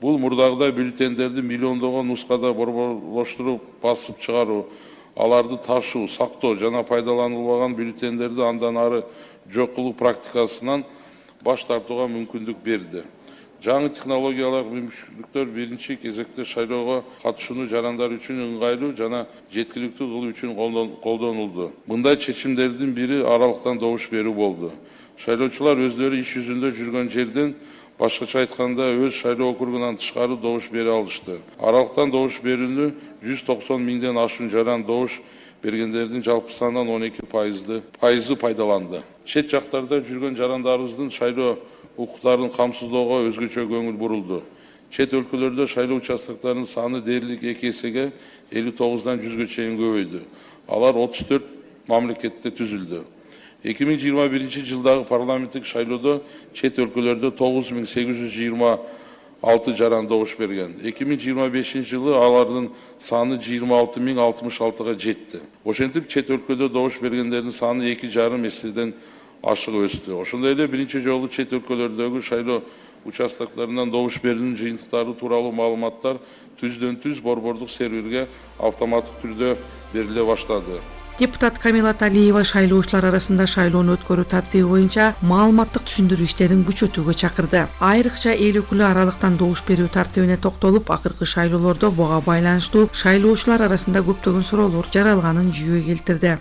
Бул мурдагыдай бюллетендерди миллиондогон нускада борборлоштуруп басып чыгаруу, аларды ташуу, сактоо жана пайдаланылбаган бюллетендерди андан ары жок кылуу практикасынан баш тартууга мүмкүндүк берди. Жаңы технологиялык мүмкүнчүлүктөр биринчи кезекте шайлоого катышууну жарандар үчүн ыңгайлуу жана жеткиликтүү кылуу үчүн колдонулду. Мындай чечимдердин бири аралыктан добуш берүү болду. Шайлоочулар өздөрү иш жүзүндө жүргөн жерден, башкача айтканда өз шайлоо округунан тышкары добуш бере алышты. Аралыктан добуш берүүнү жүз токсон миңден ашуун жаран добуш бергендердин жалпы санынан он эки пайызы пайдаланды. чет жактарда жүргөн жарандарыбыздын шайлоо укуктарын камсыздоого өзгөчө көңүл бурулду. Чет өлкөлөрдө шайлоо участоктарынын саны дээрлик эки эсеге элүү тогуздан жүзгө чейин көбөйдү. Алар отуз төрт мамлекетте түзүлдү. эки миң жыйырма биринчи жылдагы парламенттик шайлоодо чет өлкөлөрдө тогуз миң сегиз жүз жыйырма алты жаран добуш берген. эки миң жыйырма бешинчи жылы алардын саны жыйырма алты миң алтымыш алтыга жетти. Ошентип чет өлкөдө добуш бергендердин саны эки жарым эседен ашык өстү. Ошондой эле биринчи жолу чет өлкөлөрдөгү шайлоо участоктарынан добуш берүүнүн жыйынтыктары тууралуу маалыматтар түздөн түз борбордук серверге автоматтык түрдө бериле баштады. Депутат Камила Талиева шайлоочулар арасында шайлоону өткөрүү тартиби боюнча маалыматтык түшүндүрүү иштерин күчөтүүгө чакырды. Айрыкча эл өкүлү аралыктан добуш берүү тартибине токтолуп, акыркы шайлоолордо буга байланыштуу шайлоочулар арасында көптөгөн суроолор жаралганын жүйө келтирди.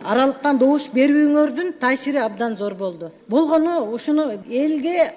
Аралыктан добуш берүүңөрдүн таасири абдан зор болду. Болгону ушуну элге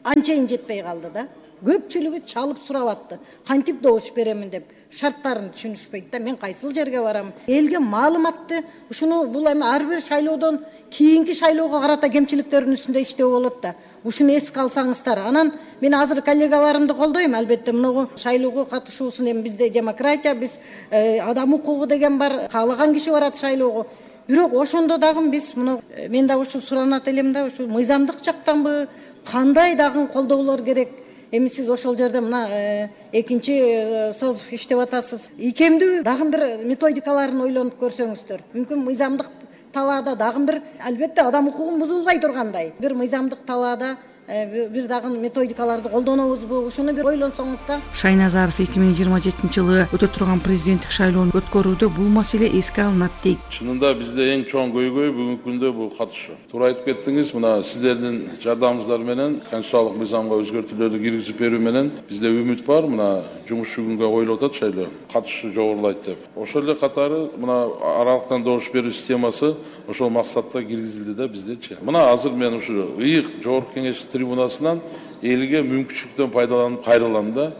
анчайын жетпей калды да. Көпчүлүгү чалып сурап атты. Кантип добуш беремин деп. Шарттарын түшүнүшпөйт да. Мен кайсыл жерге барам? Элге маалыматты ушуну бул эми ар бир шайлоодон кийинки шайлоого карата кемчиликтердин үстүндө иштөө болот да. Ушуну эске алсаңыздар. Анан мен азыр коллегаларымды колдойм. Албетте муну шайлоого катышуусун эми бизде демократия, биз адам укугу деген бар. Каалаган киши барат шайлоого. Бирок ошондо дагы биз муну мен да ушу суранат элем да, ушу мыйзамдык жактанбы, кандай дагы колдоолор керек? Эми сиз ошол жерде мына экинчи соз иштеп атасыз. Икемдүү дагы бир методикаларын ойлонуп көрсөңүздөр. Мүмкүн мыйзамдык талаада дагы бир, албетте адам укугун бузулбай тургандай бир мыйзамдык талаада бир дагы методикаларды колдонобузбу? Ушуну бир ойлонсоңуз да. Шайназаров эки миң жыйырма жетинчи жылы өтө турган президенттик шайлоону өткөрүүдө бул маселе эске алынат дейт. Чынында бизде эң чоң көйгөй бүгүнкү күндө бул катышуу. Туура айтып кеттиңиз, мына сиздердин жардамыңыздар менен конституциялык мыйзамга өзгөртүүлөрдү киргизип берүү менен бизде үмүт бар. Мына жумуш күнгө коюлуп атат шайлоо. Катышуу жогорулайт деп. Ошол эле катары мына аралыктан добуш берүү системасы ошол максатта киргизилди да биздечи. Мына азыр мен ушу ыйык жогорку кеңеш трибунасынан элге мүмкүнчүлүктөн пайдаланып кайрылам да.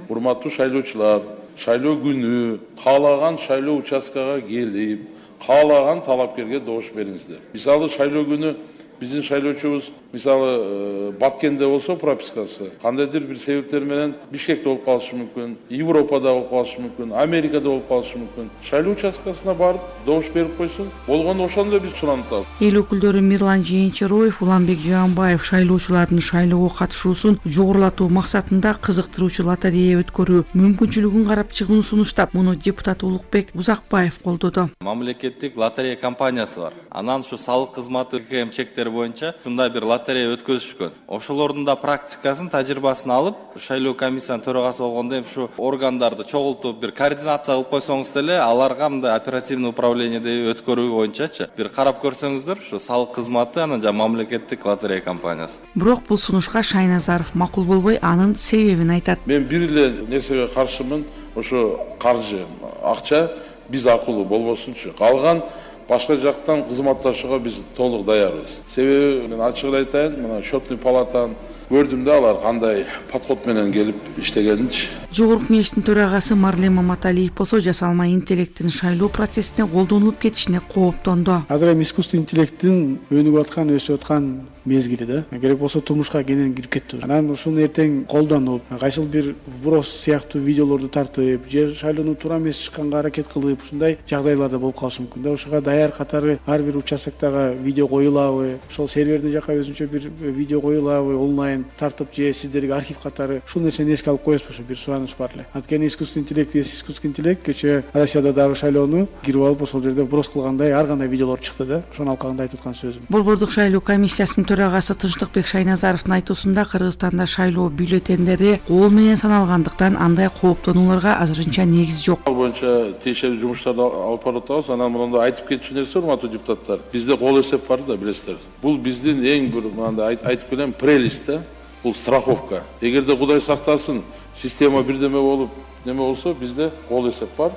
Урматтуу шайлоочулар, шайлоо күнү каалаган шайлоо участкага келип, каалаган талапкерге добуш бериңиздер. Мисалы шайлоо күнү биздин шайлоочубуз мисалы Баткенде болсо пропискасы кандайдыр бир себептер менен Бишкекте болуп калышы мүмкүн, Европада болуп калышы мүмкүн, Америкада болуп калышы мүмкүн. Шайлоо участкасына барып добуш берип койсун. Болгону ошондой биз суранат. Эл өкүлдөрү Мирлан Жээнчироев, Уланбек Жаанбаев шайлоочулардын шайлоого катышуусун жогорулатуу максатында кызыктыруучу лотерея өткөрүү мүмкүнчүлүгүн карап чыгууну сунуштап, муну депутат Улукбек Узакбаев колдоду. Мамлекеттик лотерея компаниясы бар. Анан ушу салык кызматы чектери боюнча ушундай бир лотерея өткөзүшкөн. Ошолордун да практикасын, тажрыйбасын алып, шайлоо комиссиянын төрагасы болгондо эми ушу органдарды чогултуп бир координация кылып койсоңуз деле, аларга мындай оперативный управлениеде өткөрүү боюнчачы бир карап көрсөңүздөр, ушу салык кызматы анан жана мамлекеттик лотерея компаниясы. Бирок бул сунушка Шайназаров макул болбой, анын себебин айтат. Мен бир эле нерсеге каршымын, ошо каржы, акча биз акылуу болбосунчу. Калган башка жактан кызматташууга биз толук даярбыз. Себеби мен ачык эле айтайын, мына счетный палатаны көрдүм да, алар кандай подход менен келип иштегенинчи. Жогорку кеңештин төрагасы Марлен Маматалиев болсо жасалма интеллекттин шайлоо процессине колдонулуп кетишине кооптонду. Азыр эми искусственный интеллекттин өнүгүп аткан, өсүп аткан мезгили да. Керек болсо турмушка кенен кирип кетти. Анан ушуну эртең колдонуп, кайсыл бир вброс сыяктуу видеолорду тартып, же шайлоонун туура эмес чыкканга аракет кылып, ушундай жагдайларда болуп калышы мүмкүн да. Ошого даяр катары ар бир участоктогу видео коюлабы, ошол сервердин жака өзүнчө бир видео коюлабы, онлайн тартып, же сиздерге архив катары ушул нерсени эске алып коесузбу? Ошо бир сунуш бар эле. Анткени искусственный интеллект, искусственный интеллект кечээ Россияда дагы шайлоону кирип алып, ошол жерде вброс кылгандай ар кандай видеолор чыкты да. Ошону алкагында айтып аткан сөзүм. Борбордук шайлоо комиссиясынын төрагасы Тынчтыкбек Шайназаровдун айтуусунда Кыргызстанда шайлоо бюллетендери кол менен саналгандыктан андай кооптонууларга азырынча негиз жок. Ал боюнча тиешелүү жумуштарды алып барып атабыз. Анан мындай айтып кетчү нерсе, урматтуу депутаттар, бизде кол эсеп бар да, билесиздер. Бул биздин эң бир мындай айтып келем прелесть да. Бул страховка. Эгерде Кудай сактасын, система бирдеме болуп, неме болсо, бизде кол эсеп бар.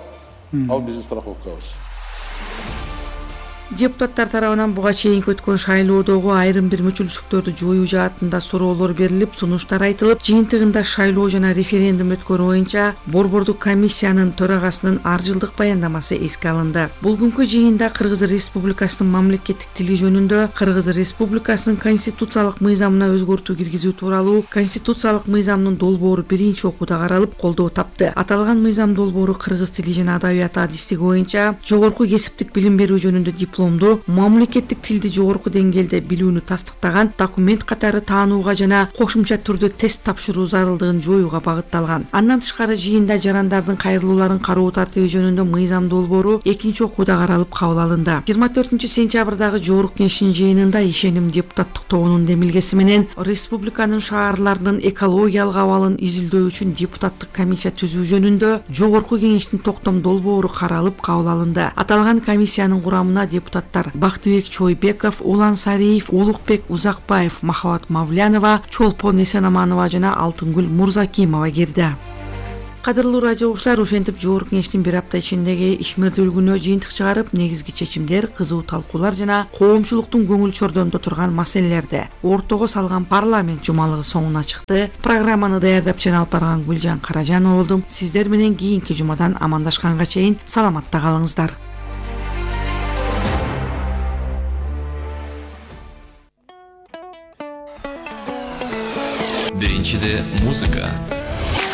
Ал биздин страховкабыз. Депутаттар тарабынан буга чейинки өткөн шайлоодогу айрым бир мүчүлчүлүктөрдү жоюу жаатында суроолор берилип, сунуштар айтылып, жыйынтыгында шайлоо жана референдум өткөрүү боюнча Борбордук комиссиянын төрагасынын ар жылдык баяндамасы эске алынды. Бүгүнкү жыйында Кыргыз Республикасынын мамлекеттик тили жөнүндө Кыргыз Республикасынын конституциялык мыйзамына өзгөртүү киргизүү тууралуу конституциялык мыйзамдын долбоору биринчи окууда каралып, колдоо тапты. Аталган мыйзам долбоору кыргыз тили жана адабияты адистиги боюнча жогорку кесиптик билим берүү жөнүндө дипломду, мамлекеттик тилди жогорку деңгээлде билүүнү тастыктаган документ катары таанууга жана кошумча түрдө тест тапшыруу зарылдыгын жоюуга багытталган. Андан тышкары жыйында жарандардын кайрылууларын кароо тартиби жөнүндө мыйзам долбоору экинчи окууда каралып кабыл алынды. жыйырма төртүнчү сентябрдагы жогорку кеңештин жыйынында ишеним депутаттык тобунун демилгеси менен республиканын шаарларынын экологиялык абалын изилдөө үчүн депутаттык комиссия түзүү жөнүндө жогорку кеңештин токтом долбоору каралып кабыл алынды. Аталган комиссиянын курамына депутаттар Бактыбек Чойбеков, Улан Сариев, Улукбек Узакбаев, Махабат Мавлянова, Чолпон Эсенаманова жана Алтынгүл Мурзакимова кирди. Кадырлуу радио угуучулар, ошентип жогорку кеңештин бир апта ичиндеги ишмердүүлүгүнө жыйынтык чыгарып, негизги чечимдер, кызуу талкуулар жана коомчулуктун көңүл чордондо турган маселелерди ортого салган парламент жумалыгы соңуна чыкты. Программаны даярдап жана алып барган Гүлжан Каражанова болдум. Сиздер менен кийинки жумадан амандашканга чейин саламатта калыңыздар. Биринчиде музыка,